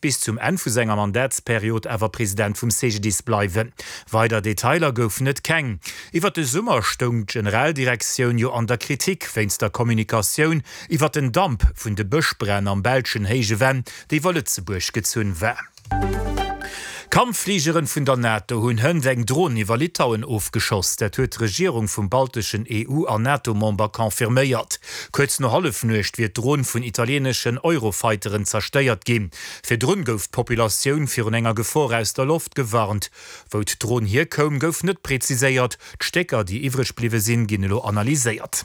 bis zum Enn vu senger Mandatsperiod awer President vum CGDIS bleiwen. Weider Detailer goufen et keng. Iwwer de Summer stoung d'Generaldirektioun jo an der Kritik wéinst der Kommunikatioun iwwer den Damp vun de Bëschbränn am belschen Héije Venn, déi iwwer Lëtzebuerg gezunn war. Kampffligeren vun der NATO hunn hënt eng Dron iwwer Litauen ofgeschoss. Dat huet d'Regierung vum balteschen EU an NATO-Member confirméiert. Kuerz no Hallefnuecht wier d'Dron vun italieeneschen Eurofighteren zerstéiert ginn. Virdrun gouf d'Populatioun virun enger Gefor aus der Loft gewarnt. Wou d'Dron hierkoum, gouf net preziséiert. D'Stécker, déi iwwreg bliwwe sinn, ginn elo analyséiert.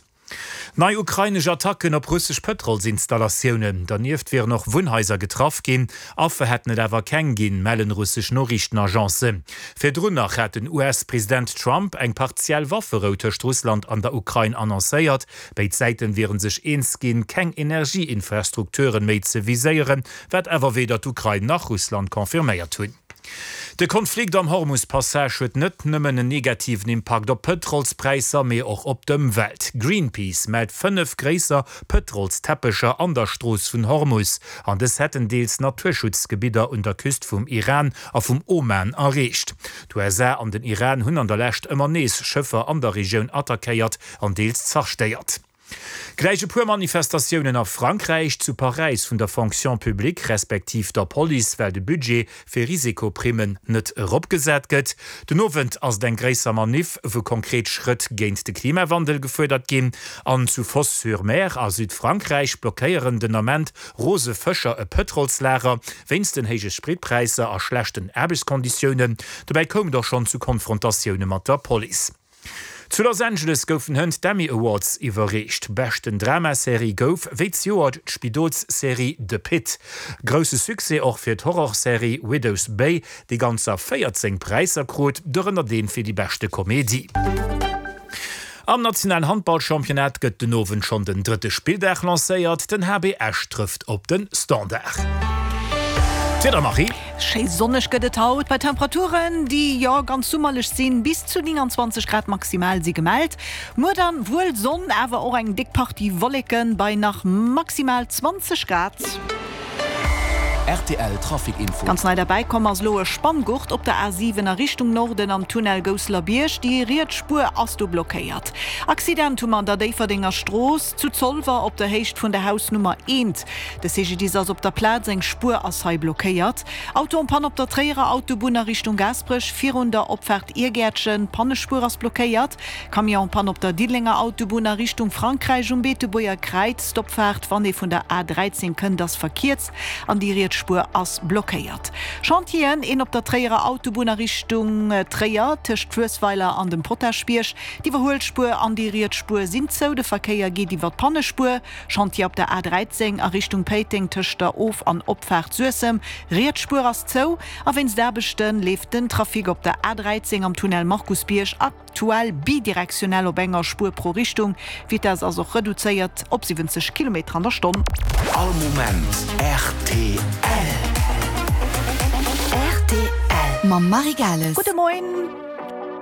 Nei ukrainesch Attacken op russesch Pëtrolsinstallatiounen. Dernieft wieren och Wunnhaiser getraff ginn. Affer hätten et awer keng ginn, mellen russesch Noriichtenagencen. Virdrun nach hat den US-President Trump eng partiell Wafferou tëscht Russland an der Ukrain annoncéiert. Béid Säiten wiere sech eens ginn, keng Energieinfrastrukturen méi ze viséieren, wat awer weder d'Ukrain nach Russland confirméiert hunn. De Konflikt am Hormus-Passage huet net nëmmen en negativen Impakt op d'Pëtrolspräisser, mee och op d'Ëmwelt. Greenpeace mellt 5 gréisser Pëtrolsteppecher an der Strooss vun Hormus, an dës hätten deels Naturschutzgebidder un der Küst vum Iran a vum Oman erreecht. D'USA an den Iran hunn an der Lescht ëmmer nees Schëffer an der Regioun attackéiert an deels zerstéiert. Gläich e puer Manifestatiounen a Frankräich, zu Paräis vun der Fonction publique respektiv der Police, well de Budget fir Risikoprimmen net eropgesat gëtt. Den Owend ass et eng gréisser Maniff, wou konkret Schrëtt géint de Klimawandel gefuerdert ginn. An zu Fos-sur-Mer a Südfrankräich blockéieren den Ament rose Fëscher e Pëtrolslager, wéinst den héije Spritpräisser a schlechten Aarbechtskonditiounen. Dobäi koum et och schonn zu Konfrontatioune mat der Police. Zu Los Angeles goufen hënt d'Emmy Awards iwwerreecht. Beschten Dramaserie gouf wéi zejoert d'Spidolsserie The Pitt. Grousse Succès och fir d'Horrorserie Widow's Bay, déi ganzer 14 Präisser krut, dorënner dee fir déi beschte Komedie. Am nationalen Handballchampionnat gëtt den Owend schonn den drëtte Spilldag lancéiert. Den HB Esch trëfft op de Standard. D'Wieder, Marie. Schéi sonneg gëtt et haut, bei Temperaturen, déi, jo, ganz summerlech sinn. Bis zu 29 Grad maximal si gemellt. Muer dann wuel Sonn, awer och eng déck Partie Wolleken bei nach maximal 20 Grad. Rtl Trafic Info. Ganz nei derbäi komm ass elo e Spanngurt op der A7 a Richtung Norden am Tunnel Gousselerbierg. Déi riets Spuer ass do blockéiert. Accident hu mer an der Déifferdenger Strooss zu Zolwer op der Héicht vun der Hausnummer 1. De CGDIS ass op der Plaz, eng Spuer ass hei blockéiert. Auto en panne op der Tréierer Autobunn a Richtung Gaasperech virun der Opfaart Iergäertchen, d'Pannespuer ass blockéiert. Camion en panne op der Diddelenger Autobunn a Richtung Frankräich um Beetebuerger Kräiz, d'Opfaart wann ee vun der A 13 kënnt ass verkierzt an déi riets Spuer ass blockéiert. Chantieren, een op der Tréierer Autobunn a Richtung Tréier tëscht Fluessweiler an dem Potaschbierg, d'Iwwerhuelspuer an déi riets Spuer sinn zou, de Verkéier geet iwwer d'Pannespuer. Chantier op der A 13 a Richtung Péiteng tëscht der Of an Opfaart Suessem, riets Spuer ass zou a wéinst Aarbechte leeft den Trafic op der A 13 am Tunnel Markusbierg aktuell bidirektionell op enger Spuer pro Richtung. D'Vitess ass och reduzéiert op 70 Kilometer an der Stonn. All Moment rtl. Rtl mam Marie Gales. Gudde Moien.